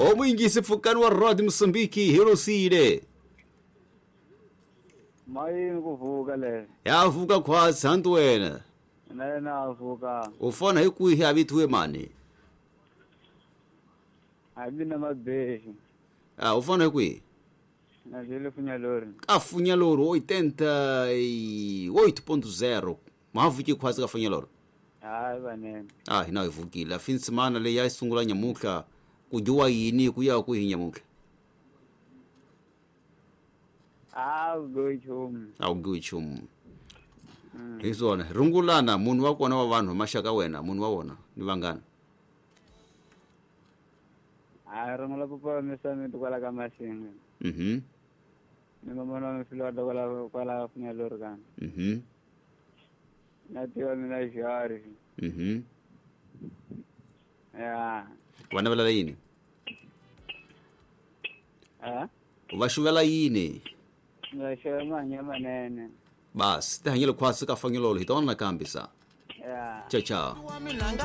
Omuyingisi pfukani wa Rod Msumbiki Hirosile. Mayini kuvuka le. Ya vuka khwatsi hantu wena. Na yena avuka. U fona hi kwihi a vithiwe mani? A mina mabeji. Ah, u fona hi kwihi? Na jele funyalori. Ka Funyalori 88.0. Mavuki khwatsi ka Funyalori. Hayi vanene. Ah, hina hi vukile. Finsimana leyi ya sungula nyamuhla ku dyiwa yini ku ya kwihi nyamuhla? A ku chumu. A wu dyiwi nchumu. Hi swona rungulana munhu wa kona wa vanhu maxaka wena munhu wa wona ni vangana. A rungula papa misamiti kwala ka Masinga. Ni mamana wa mifilwata kwala kwala Funyalori kana. Na tiva mina Jari. Ya. Va navelela yini? Ha? Va xuvela yini? Va xava mahanya manene. Bas, ti hanyele khwatsi ka Funyalori hi tona nakambe sa. Ya. Ciao ciao. Wa mina nga